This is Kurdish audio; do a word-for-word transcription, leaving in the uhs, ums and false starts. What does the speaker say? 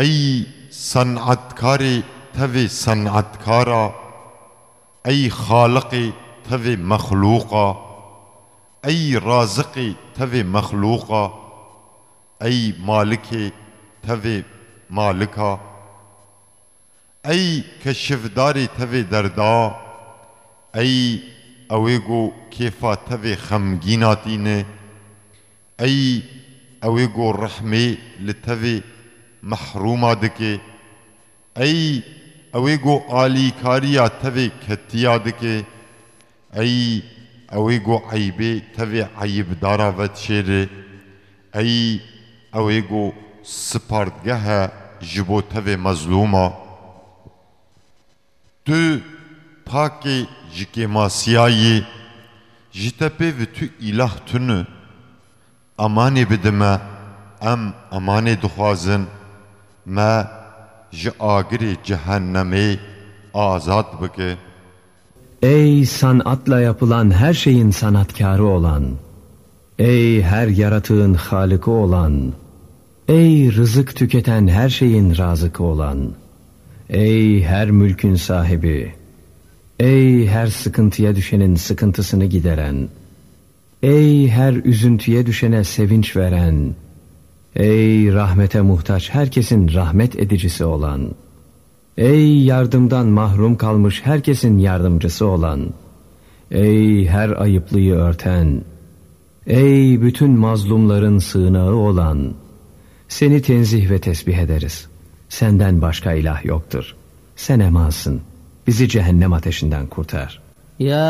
Ey senetkarê tevê senetkara, ey xaliqê tevê mexlûqa, ey raziqê tevê mexlûqa, ey malikê tevê malika, ey keşifdarê tevê derda, ey ewê ku kêfa tevê xemgîna tîne, ey ewê ku rehmê li tevê mehrûma dike, ey ewê ku alîkariya tevê ketiya dike, ey ewê ku eybê tevê eyibdara vedişêre, ey ewê ku sipardgeh e ji bo tevê mezlûma. Tu pakê ji kêmasiya yî, ji te pê vi tu îlah tune. Emanê bide me, em emanê dixwazin, me ji agirê cehennemê azad bike. Ey sanatla yapılan her şeyin sanatkarı olan, ey her yaratığın Halık'ı olan, ey rızık tüketen her şeyin razıkı olan, ey her mülkün sahibi, ey her sıkıntıya düşenin sıkıntısını gideren, ey her üzüntüye düşene sevinç veren, ey rahmete muhtaç herkesin rahmet edicisi olan, ey yardımdan mahrum kalmış herkesin yardımcısı olan, ey her ayıplıyı örten, ey bütün mazlumların sığınağı olan, seni tenzih ve tesbih ederiz. Senden başka ilah yoktur. Sen emansın. Bizi cehennem ateşinden kurtar. يا